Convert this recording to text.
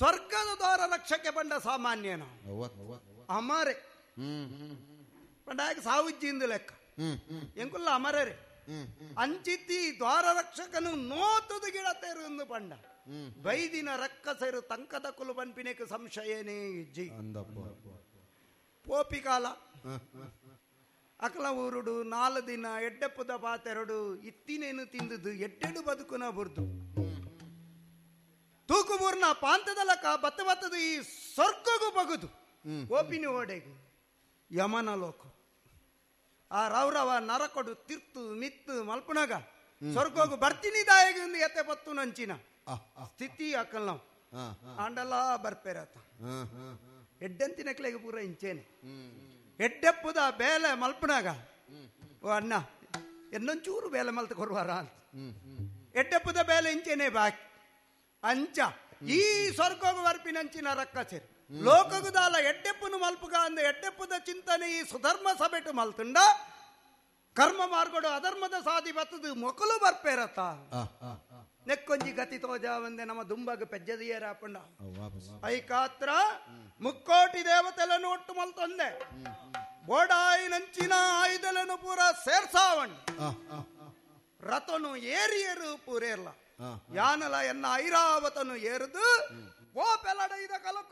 ಸ್ವರ್ಗದ ದ್ವಾರ ರಕ್ಷಕೆ ಪಂಡ ಸಾಮಾನ್ಯನ ಅಮರೆ ಪಂಡ ಸಾವುಜ್ಜಿಂದು ಲೆಕ್ಕ ಎಂಕುಲ್ಲ ಅಮರರೆ ಅಂಚಿತ್ತಿ ದ್ವಾರ ರಕ್ಷಕನು ನೋತದ ಗಿಡತೇರು ಎಂದು ಪಂಡ ಬೈದಿನ ರಕ್ಕಸರು ತಂಕದ ಕುಲು ಪನ್ಪಿನೆಕ್ ಸಂಶಯನೇ ಇಜ್ಜಿ. ಪೋಪಿ ಕಾಲ ಅಕಲ ಊರುಡು 4 ದಿನ ಎಡ್ಡೆಪ್ಪುದ ಪಾತೆರಡು ಇತ್ತಿನೇನು ತಿಂದುದು ಎಡ್ಡೆಡು ಬದುಕುನ ಬುರ್ದು ತೂಕು ಬೂರ್ನ ಪಾಂತದ ಲಕ್ಕ ಬತ್ತ ಬತ್ತದು ಈ ಸ್ವರ್ಗಗೂ ಬಗುದು ಓಪಿನಿ ಓಡೆಗು ಯಮನ ಲೋಕ ಆ ರೌರವ ನರಕೊಡು ತಿರ್ತು ಮಿತ್ತು ಮಲ್ಪುನಗ ಸ್ವರ್ಗೋಗು ಬರ್ತೀನಿ ದಾಯಗ ಎತ್ತೆ ಬತ್ತು ನಂಚಿನ ಸ್ಥಿತಿ ಅಕಲ್ ನಾವು ಆಂಡಲ ಬರ್ಪೇರತ ಎಡ್ಡೆಂತಿನಕ್ಲೆಗೆ ಪೂರ ಇಂಚೇನೆ ಎಡ್ಡೆಪ್ಪುದ ಬೇಲೆ ಮಲ್ಪುನಾಗ ಓ ಅಣ್ಣ ಎನ್ನೊಂಚೂರು ಬೇಲೆ ಮಲ್ತ ಕೊರುವಾರ ಅಂತ ಎಡ್ಡೆಪ್ಪುದ ಬೇಲೆ ಇಂಚೇನೆ ಬಾಕಿ ಅಂಚ ಈ ಸ್ವರ್ಗೋಗು ಬರ್ಪಿನಂಚಿನ ರಕ್ಕಸೇರಿ ಲೋಕಗುದಾಲ ಎಡ್ಡೆಪ್ಪುನು ಮಲ್ಪುಗ ಅಂದ ಎಡ್ಡೆಪ್ಪುದ ಚಿಂತನೆ ಈ ಸುಧರ್ಮ ಸಭೆಟು ಮಲ್ತುಂಡ ಕರ್ಮ ಮಾರ್ಗಡು ಅಧರ್ಮದ ಸಾದಿ ಬತ್ತದು ಮೊಕಲು ಬರ್ಪೇರತ್ತ ನೆಕ್ಕೊಂಜಿ ಗತಿ ತೋಜ ಒಂದೆ ನಮ್ಮ ದುಂಬಾಗ ಪೆಜ್ಜದಿಯರ ಪಂಡ ಐಕಾತ್ರ ಮುಕ್ಕೋಟಿ ದೇವತೆలను ಒಟ್ಟು ಮಲ್ತೊಂದೆ ಬೋಡಾಯಿ ನಂಚಿನ ಆಯುಧలను ಪೂರ ಸೇರ್ಸಾವಣ್ ರಥನು ಏರಿಯರು ಪೂರೇರ್ಲ ಯಾನಲ ಎನ್ನ ಐರಾವತನು ಏರಿದು ಓ ಪೆಲಡ ಇದ ಕಲಕು.